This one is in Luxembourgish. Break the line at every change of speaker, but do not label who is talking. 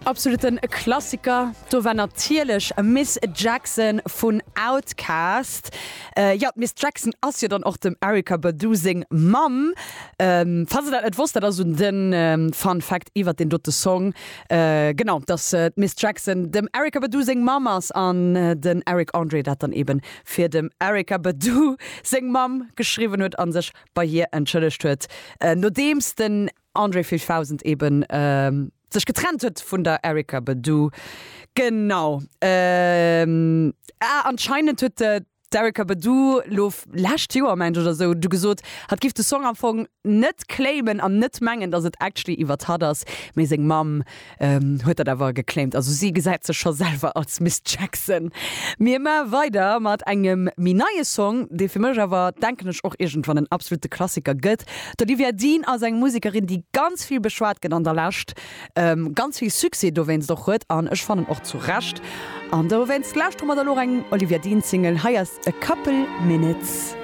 Absoluten Klassiker, do war natierlech Miss Jackson vun Outkast. Jo, d'Miss Jackson ass jo dann och dem Erykah Badu seng Mamm. Falls der dat net wosst, dat ass esou den Fun Fact iwwert deen dote Song. Genau, dass d'Miss Jackson dem Erykah Badu seng Mamm ass an den Eric Andre dat dann eben fir dem Erykah Badu seng Mamm geschriwwen huet a sech bei hir entschëllegt huet, nodeems den Andre 3000 eben sech getrennt huet vun der Erykah Badu. Genau. Ah, anscheinend huet d'Erykah Badu lo lescht Joer, mengen ech, oder sou, du gesot, hatt giff de Song am Fong net claimen an net mengen, dass et actually iwwert hatt ass, mee seng Mamm huet dat awer geclaimt. Also si gesäit sech scho selwer als Miss Jackson. Mir maache weider mat engem méi neie Song, dee fir mech awer, denken ech, och iergendwann en absolute Klassiker gëtt. D'Olivia Dean ass eng Musekerin, déi ganz vill beschwat gëtt an der Lescht, ganz vill Succès dowéinst och huet an ech fannen och zu Recht. An dowéinst lauschtere mer da lo och eng Olivia Dean Single. Hei ass A Couple Minutes.